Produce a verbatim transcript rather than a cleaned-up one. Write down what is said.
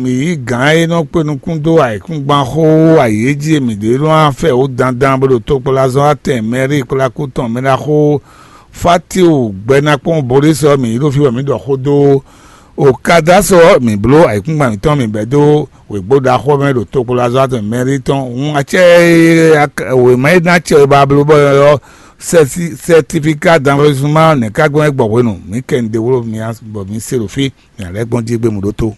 Mǐ yí gǎn e nɔ kpé nukún dó ayǐkúngban xó ayǐ e jí e mǐ ɖe nɔ afɛ wǒ dandan bó ɖo tokpɔ́lázɔ́ atɛn mɛrí kplákú tɔn mɛ ɖaxó Fátiwu gbɛ́nákpɔ́n Bolísɔ mǐ yi ɖo fí wɛ mǐ ɖɔ xó dó. Okadásɔ mǐ bló ayǐkúngban mǐtɔn mǐ bɛ́ dó wěgbó ɖaxó mɛ ɖo tokpɔ́lázɔ́ atɛn mɛrí tɔn. Hun acɛ e wěma e ná acɛ e ba bló bɔ ɔ́ sɛtifika danvɛzuma nɛ̌ ka gbɔn é gbɔ hwenu mǐ kɛ un ɖe wló mǐ bɔ mǐ se ɖo fí mǐ lɛ́ gbɔn jí gbé mǔ ɖótó.